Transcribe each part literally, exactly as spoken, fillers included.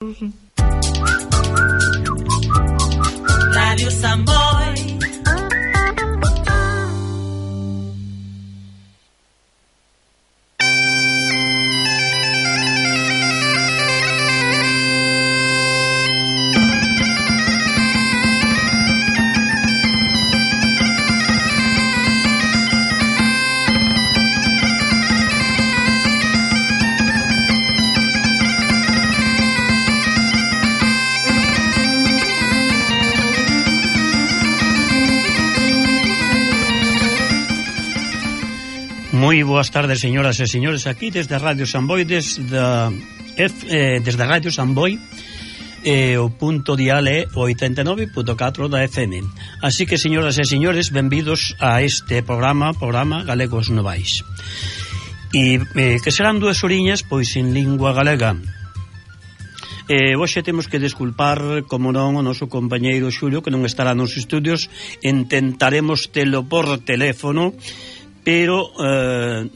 Radio Samboy. Moi boas tardes, señoras e señores, aquí desde Radio Samboy, desde, F, eh, desde Radio Samboy, eh, o punto dial é oitenta e nove punto catro da F M. Así que, señoras e señores, benvidos a este programa, programa Galegos Novais. E eh, que serán dúas oriñas, pois, en lingua galega. Eh, hoxe temos que desculpar, como non, o noso compañeiro Xulio, que non estará nos estudios. Intentaremos telo por teléfono, pero eh,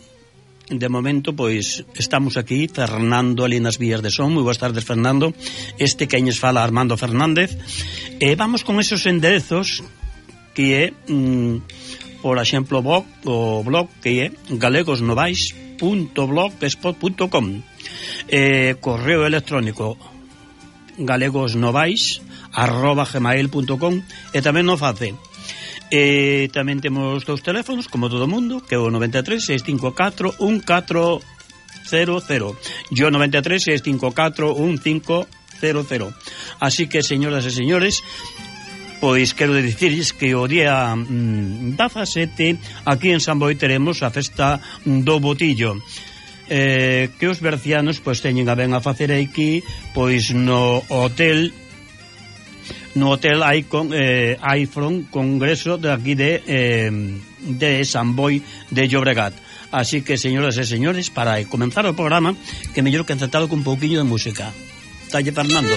de momento pois estamos aquí, Fernando ali nas vías de son. Moi boas tardes, Fernando. Este que añes fala Armando Fernández. E eh, vamos con esos enderezos que é mm, por exemplo blog, o blog que é galegosnovais punto blogspot punto com, eh, correo electrónico galegosnovais arroba gmail punto com, e tamén no face. E tamén temos dous teléfonos, como todo o mundo, que é o noventa e tres, seis cinco catro, un catro cero cero e o noventa e tres, seis cinco catro, un cinco cero cero. Así que, señoras e señores, pois quero dicirles que o día mm, dezasete aquí en Samboy teremos a festa do Botillo, eh, que os bercianos pois teñen a ben a facer aquí, pois no hotel no hotel Icon, eh, iPhone Congreso de aquí de eh, de Samboy de Llobregat. Así que, señoras e señores, para comenzar o programa, que mellor que encantado con un pouquiño de música. Talle, Fernando.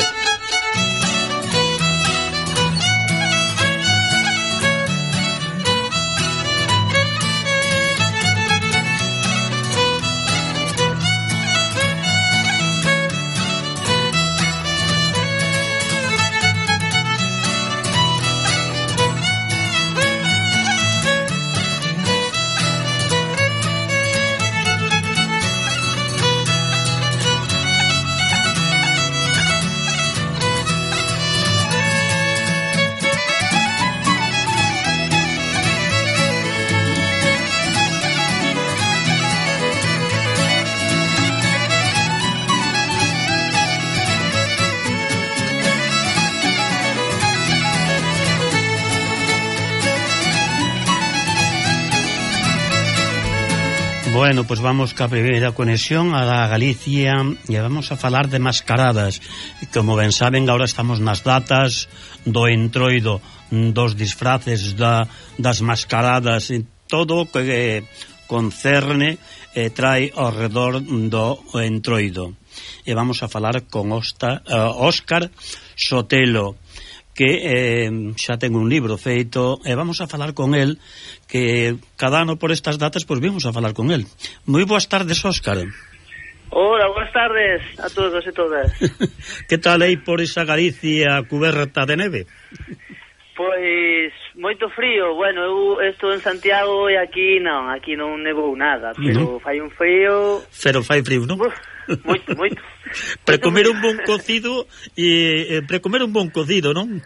Bueno, pues vamos ca primeira conexión a la Galicia e vamos a falar de mascaradas. Como ben saben, agora estamos nas datas do entroido, dos disfraces, da, das mascaradas, e todo o que concerne e trae ao redor do entroido. E vamos a falar con Osta, uh, Óscar Sotelo, que eh, xa ten un libro feito, e vamos a falar con el, que cada ano por estas datas pois vimos a falar con el. Moi boas tardes, Óscar. Hola, boas tardes a todos e todas. Que tal aí por esa Galicia cuberta de neve? Pois moito frío. Bueno, eu estou en Santiago e aquí non, aquí non nevou nada, pero uh-huh. fai un frío. Pero fai frío, non? Uf, moito, moito. Para comer un bon cocido e eh, para comer un bon cocido, non?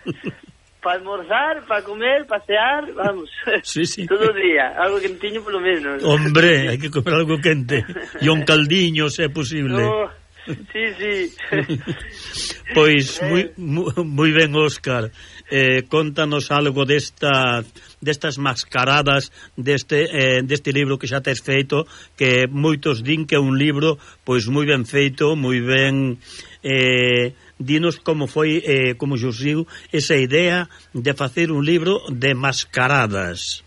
Para almorzar, para comer, pasear, vamos. Sí, sí. Todo o día, algo quentiño polo menos. Hombre, hai que comer algo quente. E un caldiño, se é posible. No, sí, sí. Pois moi, moi ben, Óscar. Eh, contanos algo desta, destas mascaradas, deste, eh, deste libro que xa tes feito, que moitos din que é un libro pois moi ben feito, moi ben. Eh, dinos como foi, eh, como xurdiu esa idea de facer un libro de mascaradas.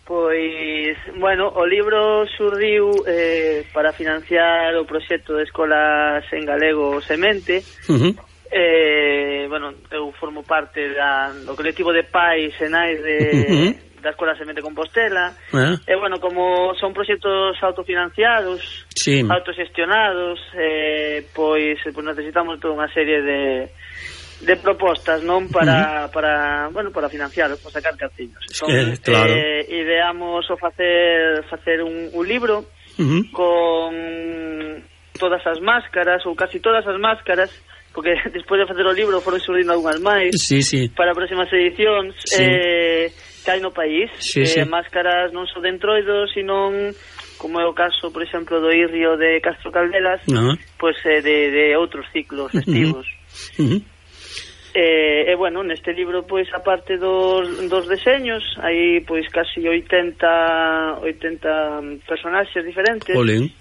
Pois, bueno, o libro xurdiu eh, para financiar o proxecto de escolas en galego Semente. Uh-huh. eh, bueno, eu formo parte da, do colectivo de pais e nais de, uh-huh. da Escola Semente Compostela. Eh? E, bueno, como son proxectos autofinanciados, sí. autoxestionados, eh, pois, pois necesitamos toda unha serie de, de propostas, non? Para, uh-huh. para, bueno, para financialos, para sacar cartiños. Es que, claro. eh, ideamos o facer, facer un, un libro uh-huh. con todas as máscaras, ou casi todas as máscaras, porque despois de facer o libro foron surdindo algunhas máis sí, sí. para próximas edicións sí. eh, que hai no país sí, eh, sí. máscaras non só de entroidos, sino como é o caso, por exemplo, do Irrio de Castro Caldelas, uh-huh. pois eh, de, de outros ciclos festivos. Uh-huh. Uh-huh. Eh, e bueno, neste libro, pois, aparte dos, dos deseños, hai pois casi oitenta personaxes diferentes. Olín.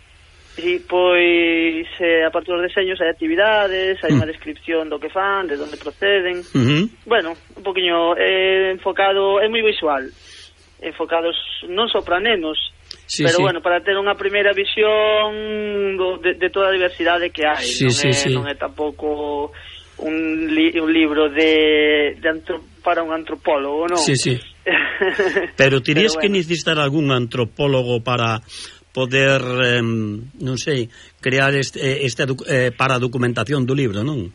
E, pois, eh, aparte dos deseños hai actividades, hai unha descripción do que fan, de onde proceden. Uh-huh. Bueno, un poquinho eh, enfocado, é moi visual, enfocados non só para nenos, sí, pero sí. bueno, para ter unha primeira visión do, de, de toda a diversidade que hai. Sí, non, sí, é, sí. non é tampouco un, li, un libro de, de antro, para un antropólogo, non? Sí, sí. Pero tirías pero, bueno. que necesitar algún antropólogo para poder, eh, non sei, crear este, este eh, para a documentación do libro, non?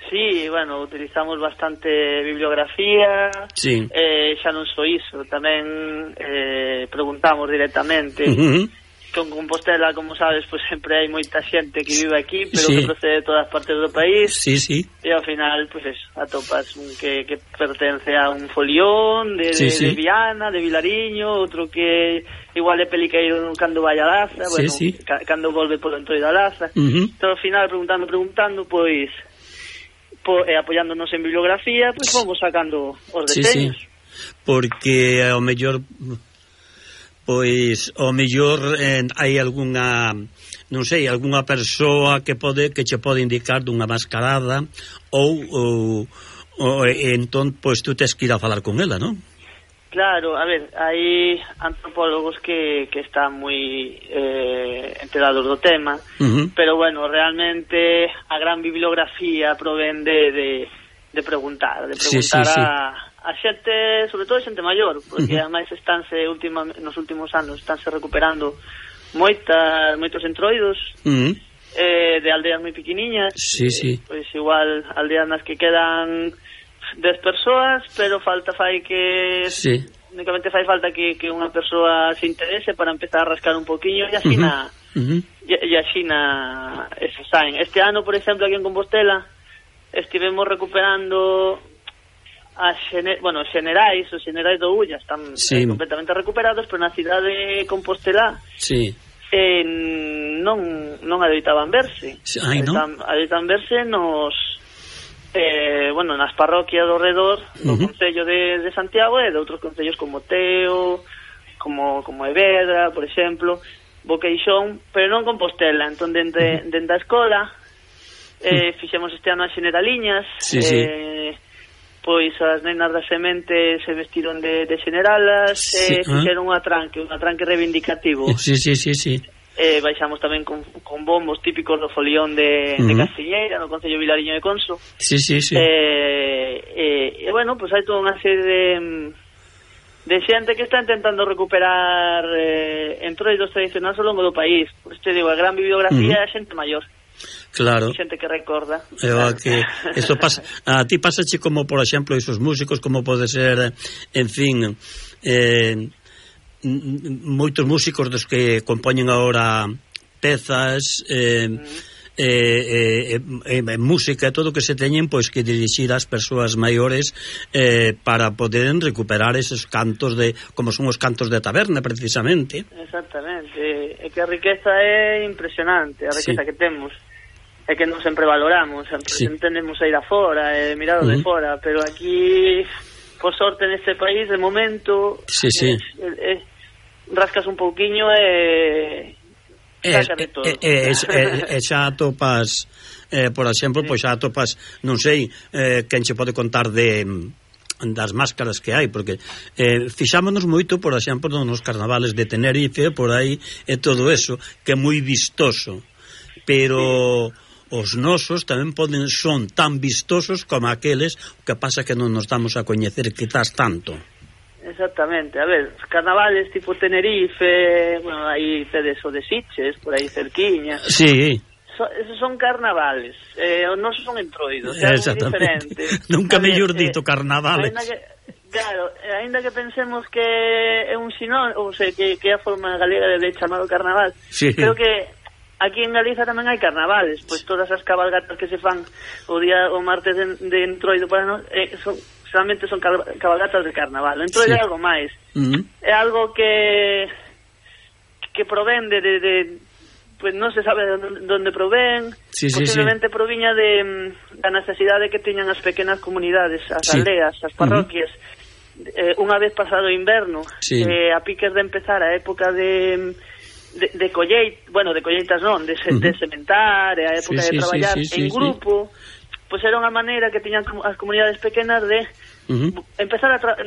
Sí, bueno, utilizamos bastante bibliografía, sí. eh, xa non só iso, tamén eh, preguntamos directamente. Uh-huh. Con Compostela, como sabes, pues sempre hai moita xente que vive aquí, pero sí. que procede de todas partes do país. Sí, sí. E ao final, pues eso, atopas un que, que pertence a un folión de, sí, de, sí. de Viana, de Vilariño, outro que igual é peliqueiro cando vai a Laza, sí, bueno, sí. ca, cando volve polo entroido da Laza. Uh-huh. Pero ao final, preguntando, preguntando, pois, po, eh, apoyándonos en bibliografía, pois fomos sacando os deseños. Sí, sí. Porque ao mellor... pois ao mellor eh, hai algunha, non sei, algunha persoa que pode que che pode indicar dunha mascarada ou, ou, ou entón, pois tú tes que ir a falar con ela, non? Claro, a ver, hai antropólogos que, que están moi eh, enterados do tema, uh-huh. pero bueno, realmente a gran bibliografía provén de, de, de preguntar, de preguntar sí, sí, sí. a a xente, sobre todo a xente maior, porque uh-huh. ademais estánse última, nos últimos anos estánse recuperando moitas, moitos entroidos uh-huh. eh, de aldeas moi pequeniñas, sí, sí. Eh, pois igual aldeas nas que quedan dez persoas, pero falta fai que sí. únicamente fai falta que, que unha persoa se interese para empezar a rascar un poquinho e asina uh-huh. e, e asina eso saen. Este ano, por exemplo, aquí en Compostela estivemos recuperando as xene, bueno, xenerais, os xenerais do Ulla están sí. eh, completamente recuperados, pero na cidade de Compostela sí. eh, non non adoitaban verse. Ai, non? Adoitan, adoitan verse nos eh, bueno, nas parroquias do redor do uh-huh. Concello de, de Santiago e de outros concellos como Teo, como, como Evedra, por exemplo, Boqueixón, pero non Compostela. Entón, dentro uh-huh. dentro da escola eh, fixemos este ano as xeneraliñas, sí, eh, sí. pois as nenas da semente se vestiron de, de xeneralas e sí, eh, fixeron un atranque, un atranque reivindicativo. Sí, sí, sí, sí. Eh, baixamos tamén con, con bombos típicos do folión de, uh-huh. de Castiñeira, no Concello Vilariño de Conso. Sí, sí, sí. Eh, eh, e, bueno, pois hai toda unha serie de, de xente que está intentando recuperar eh, entroidos tradicionais ao longo do país. Por isto digo, a gran bibliografía uh-huh. é xente maior. Claro. Xente que recorda. Claro. Que esto pasa, a ti pasache como, por exemplo, esos músicos, como pode ser, en fin, eh, moitos músicos dos que compoñen agora pezas, eh, mm. Eh, eh, eh, eh, música e todo o que se teñen pois que dirixir ás persoas maiores eh, para poden recuperar esos cantos de como son os cantos de taberna precisamente. Exactamente, é que a riqueza é impresionante, a riqueza sí. que temos é que non sempre valoramos, sempre sí. entendemos a ir afora e mirado uh-huh. de fora, pero aquí por sorte neste país de momento sí, sí. É, é, é, rascas un pouquiño e E, e, e, e, e xa atopas eh, por exemplo, sí. pois xa atopas non sei, eh, quen che pode contar de das máscaras que hai, porque eh, fixámonos moito, por exemplo, nos carnavales de Tenerife, por aí, e todo eso, que é moi vistoso, pero sí. os nosos tamén poden son tan vistosos como aqueles, o que pasa que non nos damos a coñecer quizás tanto. exactamente. A ver, os carnavales tipo Tenerife, bueno, aí tedes o de Sitges, por aí cerquiña. Sí. So, esos son carnavales, eh, os nosos son entroidos, é algo diferente. Nunca mellor dito carnavales. Ainda que, claro, ainda que pensemos que é un sinónimo, ou sea, que, que é a forma galega de chamado carnaval, sí. Creo que aquí en Galiza tamén hai carnavales, pois todas as cabalgatas que se fan o día o martes de, de entroido para nós, eh, son, solamente son cabalgatas de carnaval. O entroido sí. É algo máis, uh-huh. É algo que que provén de, de, de pues non se sabe onde provén, sí, posiblemente sí, sí. proviña de da necesidade que tiñan as pequenas comunidades, as sí. aldeas, as parroquias, uh-huh. eh, unha vez pasado o inverno, sí. eh, a piques de empezar a época de de, de colleit, bueno, de colleitas non, de, uh-huh. de sementar, a época sí, de traballar sí, sí, sí, en sí, grupo, sí. Pois era unha maneira que tiñan as comunidades pequenas de uh-huh. empezar a tra-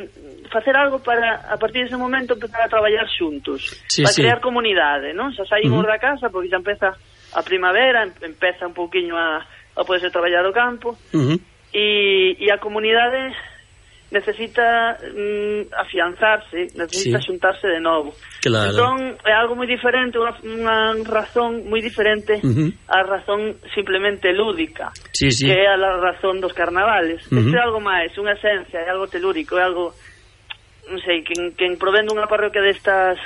facer algo para, a partir dese momento, empezar a traballar xuntos, sí, para sí. crear comunidade, non? Xa saímos uh-huh. da casa, porque xa empeza a primavera, empeza un pouquiño a, a poderse traballar o campo, uh-huh. e, e a comunidade necesita mm, afianzarse, necesita sí. xuntarse de novo. Claro. Entón, é algo moi diferente, unha, unha razón moi diferente uh-huh. a razón simplemente lúdica, sí, sí. que é a la razón dos carnavales. Uh-huh. Isto é algo máis, unha esencia, é algo telúrico, é algo, non sei, quen, quen provén dunha parroquia destas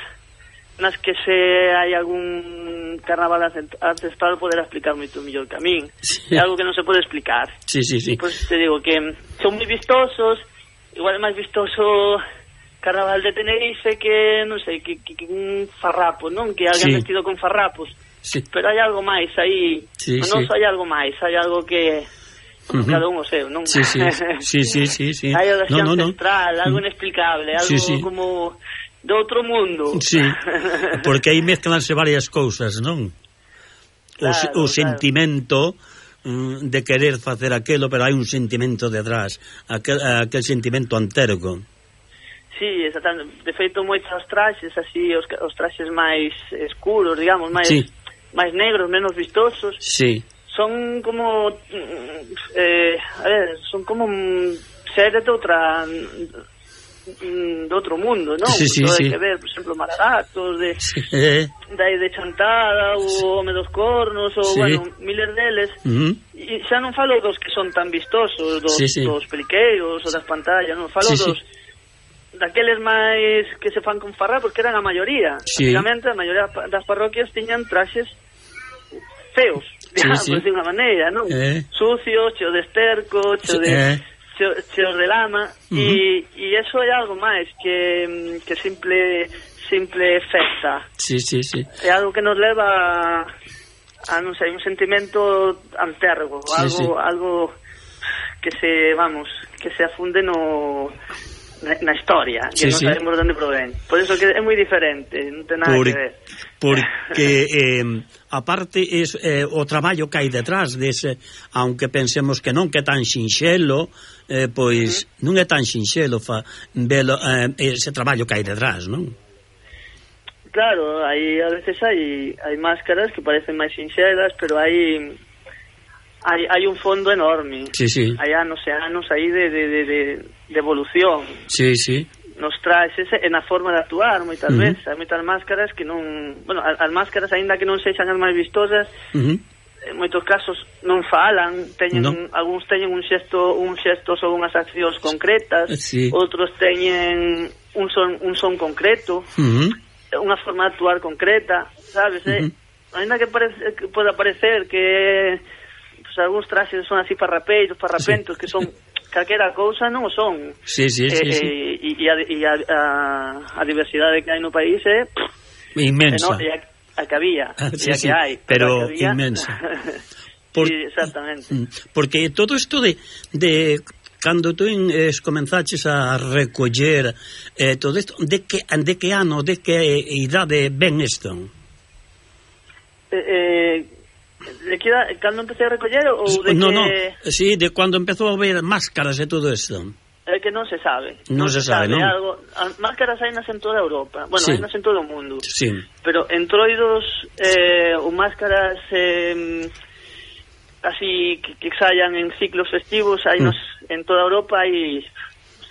nas que se hai algún carnaval ancestral poderá explicar moito mellor que a min. Sí. É algo que non se pode explicar. Sí, sí, sí. Pois te digo que son moi vistosos, igual é máis vistoso carnaval de Tenerife que, non sei, que, que, que un farrapo, non? Que alguén sí. vestido con farrapos. Sí. Pero hai algo máis aí. Sí, non sí. hai algo máis, hai algo que uh-huh. cada un o seu, non? Sí, sí, sí, sí, sí, sí. Hai algo no, no, ancestral, no. algo inexplicable, algo sí, sí. como de outro mundo. Sí, porque aí mezclanse varias cousas, non? Claro, o, o sentimento claro. de querer facer aquelo, pero hai un sentimento detrás, aquel, aquel sentimento antérgo. Sí, exactamente. De feito, moitos traxes así, os, os traxes máis escuros, digamos, máis sí. máis negros, menos vistosos. Sí. Son como eh, a ver, son como seres de outra de outro mundo, non? Sí, sí, sí. que ver, por exemplo, Maragatos, de sí. dai de Chantada, o sí. Home dos Cornos, ou, sí. bueno, miles deles. Uh-huh. E xa non falo dos que son tan vistosos, dos, sí, sí. dos periqueiros, ou das pantallas, non, falo sí, dos sí. daqueles máis que se fan con farrapos, que eran a maioría. Sí. Prácticamente, a maioría das parroquias tiñan traxes feos, digamos, sí, sí. de unha maneira, non? Eh. Sucios, cheo de esterco, cheo de... Eh. cheos de lama, uh-huh. e, e eso é algo máis que, que simple simple festa. Sí, sí, sí. É algo que nos leva a, a non sei, un sentimento antérgo, sí, algo sí. algo que se, vamos, que se afunde no na, na historia, que sí, non sabemos sí. onde provén. Por eso que é moi diferente, non ten nada Por, que ver. Porque eh, aparte es eh, o traballo que hai detrás dese, aunque pensemos que non que é tan sinxelo, eh, pois uh-huh. non é tan sinxelo fa, velo, eh, ese traballo que hai detrás, non? Claro, hai a veces hai hai máscaras que parecen máis sinxelas, pero hai hai hai un fondo enorme. Sí, sí. Hai anos e anos aí de de de de, de evolución. Sí, sí. Nos traxes e na forma de actuar moitas uh-huh. veces, hai moitas máscaras que non, bueno, as, as máscaras aínda que non sexan as máis vistosas, uh-huh. en moitos casos non falan, teñen no. algúns teñen un xesto, un xesto ou unhas accións concretas, sí. outros teñen un son un son concreto, uh-huh. unha forma de actuar concreta, sabes, uh-huh. eh? Aínda que parece que poda parecer que pues, algúns traxes son así farrapeiros, farrapentos, sí. que son calquera cousa, non o son. Sí, sí, sí, eh, sí. E, e, a, e a, a, a diversidade que hai no país é inmensa. No, e a, a que había, ah, sí, e a sí, que hai, pero que había, inmensa. Por, sí, exactamente. Porque todo isto de, de cando tú es, comenzaches a recoller eh, todo isto, de que, de que ano, de que idade ven isto? Eh, eh de que edad, cando empecé a recoller ou de no, que... No, sí, de cando empezou a ver máscaras e todo isto. É que non se sabe. Non, non se, se sabe, non? Algo, as máscaras hai nas en toda Europa. Bueno, sí. hai nas en todo o mundo. Sí. Pero entroidos eh, ou máscaras eh, así que, que saian en ciclos festivos hai mm. nos, en toda Europa hai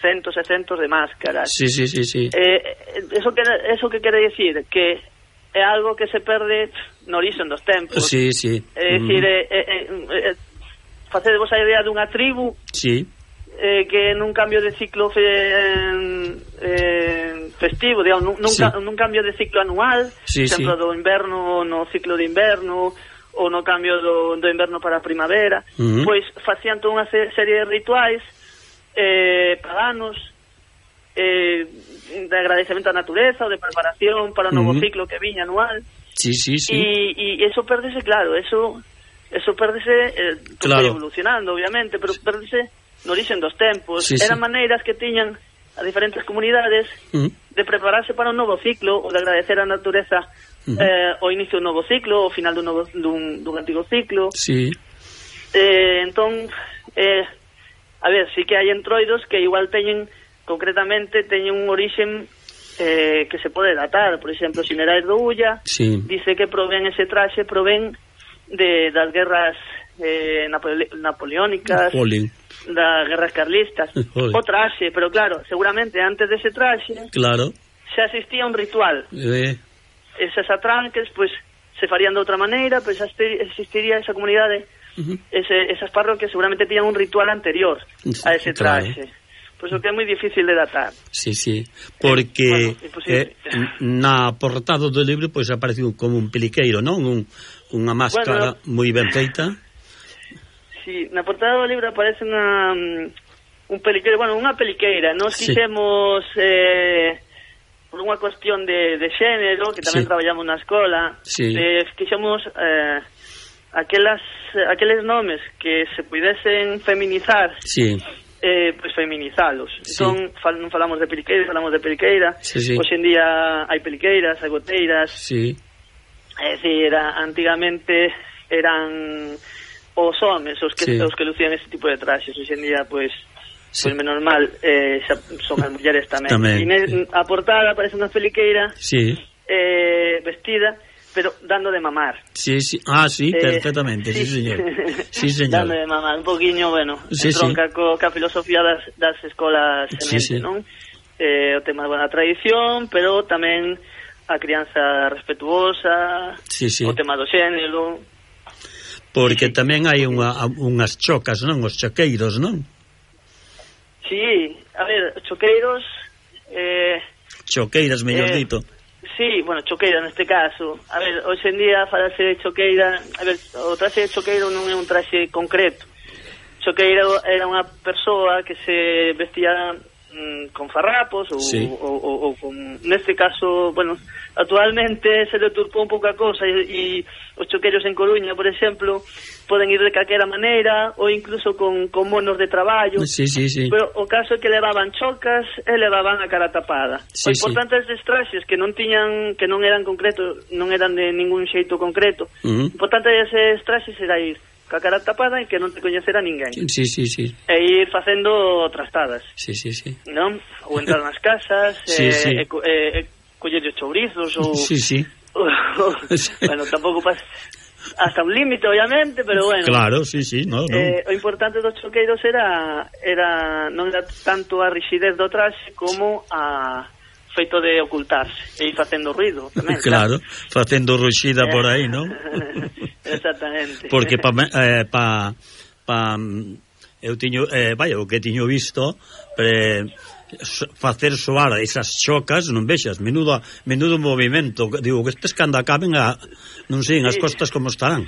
centos e centos de máscaras. Sí, sí, sí, sí. Eh, eso que eso que quere decir que é algo que se perde no origen dos tempos. Sí, sí. É dicir, mm. eh, eh, eh, facedevos a idea dunha tribu. Sí. Eh, que nun cambio de ciclo fe, eh, eh, festivo, digamos, nun, sí. nun cambio de ciclo anual, sí, por exemplo, sí. do inverno no ciclo de inverno, ou no cambio do, do inverno para a primavera, uh-huh. pois facían toda unha serie de rituais eh, paganos, eh, de agradecemento á natureza ou de preparación para o novo uh-huh. ciclo que viña anual. Sí, sí, sí. E eso perdese, claro, eso eso perdese, eh, claro. evolucionando, obviamente, pero perdese no origen dos tempos. Sí, eran sí. maneiras que tiñan a diferentes comunidades uh-huh. de prepararse para un novo ciclo ou de agradecer á natureza uh-huh. eh, o inicio dun novo ciclo, o final dun, novo, dun, dun antigo ciclo. Sí. Eh, entón, eh, a ver, sí que hai entroidos que igual teñen, concretamente, teñen un orixen eh, que se pode datar. Por exemplo, Ximerais do Ulla sí. dice que provén ese traxe, provén de, das guerras eh, napole, napoleónicas, Napoleon. das guerras carlistas. O traxe, pero claro, seguramente antes dese traxe claro. xa existía un ritual. Eh. Esas atranques, pois, pues, se farían de outra maneira, pois pues, existiría esa comunidade, uh-huh. ese, esas parroquias seguramente tiñan un ritual anterior a ese traxe. Claro. Pois o que é moi difícil de datar. Sí, sí, porque eh, bueno, eh, na portada do libro pois pues, apareceu como un peliqueiro, non? Un, unha máscara bueno, moi ben feita. Sí, na portada do libro aparece unha, un peliqueiro, bueno, unha peliqueira. Nos sí. quixemos, eh, por unha cuestión de, de xénero, que tamén sí. traballamos na escola, sí. eh, quixemos eh, aquelas, aqueles nomes que se pudesen feminizar, sí. eh, pues feminizalos. Sí. Entón, fal, non falamos de peliqueira, falamos de peliqueira. Sí, sí. Hoxe en día hai peliqueiras, hai goteiras. Sí. É dicir, era, antigamente eran os homes os que, sí. os que lucían ese tipo de traxes. Hoxe en día, pois, sí. pois menos mal, eh, xa son as mulleres tamén. tamén. E ne, a portada aparece unha peliqueira sí. eh, vestida, pero dando de mamar. Sí, sí. Ah, sí, eh, perfectamente, sí, sí señor. Sí, señor. Dando de mamar, un poquinho, bueno, sí, entronca sí. co, ca filosofía das, das escolas semente, sí, sí. non? Eh, o tema da tradición, pero tamén a crianza respetuosa, sí, sí. o tema do xénero. Porque tamén hai unha, unhas chocas, non? Os choqueiros, non? Sí, a ver, choqueiros... Eh, Choqueiras, mellor eh, dito. Sí, bueno, choqueira neste caso. A ver, hoxe en día falase de choqueira... A ver, o traxe de choqueiro non é un traxe concreto. Choqueiro era unha persoa que se vestía mm, con farrapos ou, sí. ou, ou, ou con... Neste caso, bueno, actualmente se deturpou un pouco a cosa e, e os choqueiros en Coruña, por exemplo, poden ir de calquera maneira ou incluso con, con monos de traballo. Sí, sí, sí. Pero o caso é que levaban chocas e levaban a cara tapada. Sí, o importante sí. destes traxes que non tiñan, que non eran concretos, non eran de ningún xeito concreto. Uh-huh. O importante deses traxes era ir ca cara tapada e que non te coñecera ninguén. Sí, sí, sí. E ir facendo trastadas. Sí, sí, sí. Non? Ou entrar nas casas, sí, eh, sí. e, e, e coller os chourizos ou... Sí, sí. O, o, bueno, tampouco pas... hasta un límite, obviamente, pero bueno. Claro, sí, sí, no, no. Eh, o importante dos choqueiros era era non era tanto a rigidez do traxe como a feito de ocultarse e ir facendo ruido tamén. Claro, claro. Facendo ruxida eh. por aí, non? Exactamente. Porque pa, eh, pa, pa eu tiño, eh, vaya, o que tiño visto pre, facer soar esas chocas, non vexas, menudo, menudo movimento, digo, que estes cando acaben a, non sei, sí. as costas como estarán.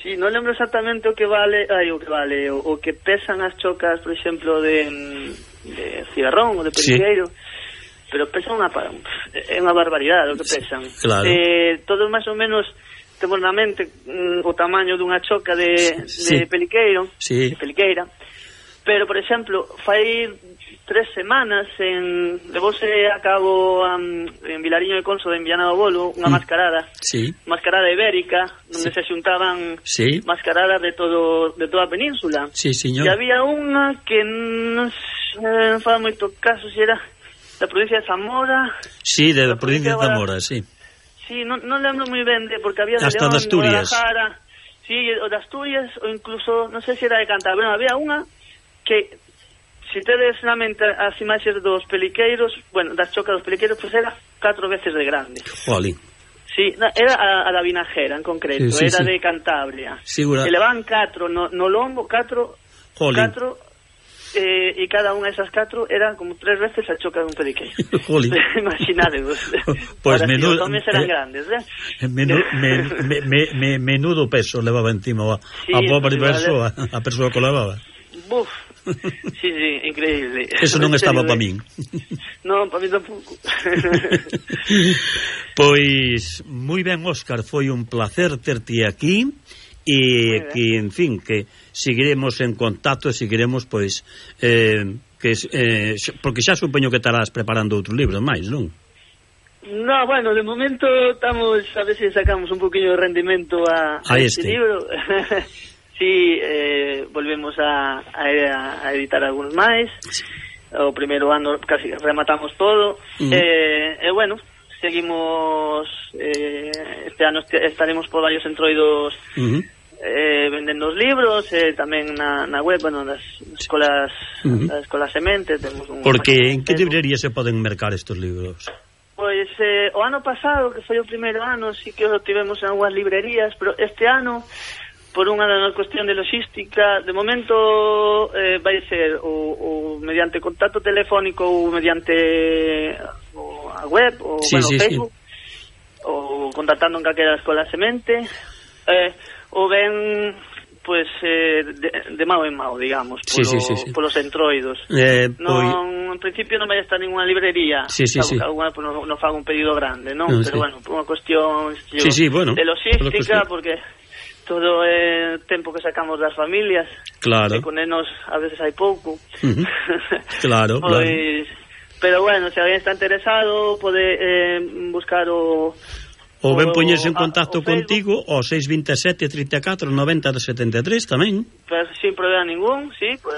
Sí, non lembro exactamente o que vale, ai, o que vale, o, o que pesan as chocas, por exemplo, de, de cigarrón ou de periqueiro, sí. pero pesan unha, é unha barbaridade o que pesan. Claro. Eh, todos máis ou menos temos na mente mm, o tamaño dunha choca de, sí. de peliqueiro, sí. de peliqueira, pero, por exemplo, fai tres semanas en levouse a cabo um, en Vilariño de Conso de Viana do Bolo unha mm. mascarada, sí. mascarada ibérica, onde sí. se xuntaban sí. mascaradas de todo de toda a península. Sí, señor. E había unha que non eh, fala moito caso se era da provincia de Zamora. Sí, de la provincia de Zamora, sí. Sí, non, non lembro moi ben de, porque había de hasta León, de Asturias. Guadalajara, sí, o de Asturias, ou incluso, non sei se era de Cantabria, bueno, había unha que se tedes na mente as imaxes dos peliqueiros, bueno, das chocas dos peliqueiros, pois pues era catro veces de grande. Jolín. Sí, era a, a da Vinajera en concreto, sí, sí, era sí. de Cantabria. Segura. E levan catro no, no lombo, catro, Jolín. catro, eh, e cada unha desas catro era como tres veces a choca dun peliqueiro. Jolín. Imaginadevos. Pues menudo, os homes eran eh, grandes, eh? Menudo, me, me, me, me, menudo peso levaba encima a, sí, a pobre persoa, a persoa que levaba. Buf. Sí, sí, increíble. Eso non estaba para min. Non, para min tampouco. Pois, moi ben, Óscar, foi un placer terte aquí e que, en fin, que seguiremos en contacto e seguiremos, pois, eh, que, eh, porque xa supoño que estarás preparando outros libros máis, non? No, bueno, de momento estamos a ver se sacamos un poquinho de rendimento a, a, a este. este libro. Sí, eh, volvemos a, a, a editar algúns máis. Sí. O primeiro ano casi rematamos todo. Uh-huh. eh, e bueno, seguimos eh, este ano est estaremos por varios entroidos uh-huh. eh, vendendo os libros, eh, tamén na, na web, bueno, nas escolas, uh-huh. nas escolas Semente temos un. Porque en que librería se poden mercar estes libros? Pois eh, o ano pasado, que foi o primeiro ano, sí que o tivemos en algunhas librerías, pero este ano, por unha cuestión de logística, de momento eh, vai ser o, o mediante contacto telefónico ou mediante o, a web ou sí, bueno, sí, Facebook sí. ou contactando en calquera escola Semente eh, ou ben pues, eh, de, de mao en mao, digamos, polo, sí, sí, sí, sí. polos entroidos. Eh, non, en principio non vai estar ninguna librería, sí, sí, sí. Alguna, pues, non, non fago un pedido grande, non? No, pero sí. bueno, por unha cuestión yo, sí, sí, bueno, de logística, porque todo é eh, tempo que sacamos das familias, claro, e con nenos a veces hai pouco. Uh-huh. Claro, pues, claro. Pero bueno, se alguén está interesado pode eh, buscar o ou ben poñerse en contacto contigo ao seis dos sete, trinta e catro, noventa, setenta e tres tamén. Pues, sin problema ningún, sí, pues,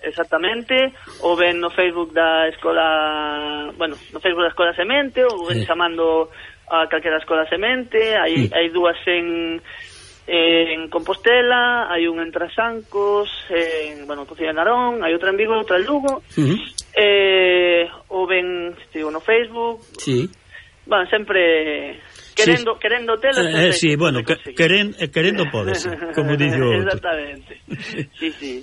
exactamente, ou ben no Facebook da escola, bueno, no Facebook da Escola Semente, ou ben sí. chamando a calquera escola Semente, hai, sí. hai dúas en en Compostela, hai un en Trasancos, en, bueno, Cociña de Narón, hai outra en Vigo, outra en Lugo, uh-huh. eh, ou ben, digo, no Facebook, sí. Bueno, sempre querendo, sí. querendo telo, eh, eh, sí, bueno, que, queren, eh, querendo podes, como dixo outro. Exactamente, sí, sí.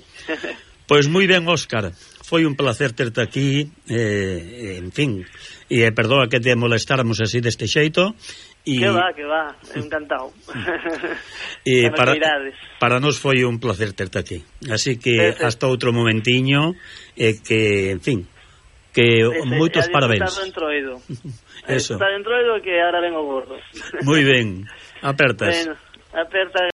Pois moi ben, Óscar, foi un placer terte aquí, eh, en fin, e eh, perdoa que te molestáramos así deste xeito. Y, que va, que va, encantado. E para, para nos foi un placer terte aquí. Así que Perfecto. Hasta outro momentiño, e eh, que, en fin, que Ese, moitos parabéns. Eso. Está dentro do que ahora vengo gordo. Moi ben, apertas. Bueno, aperta.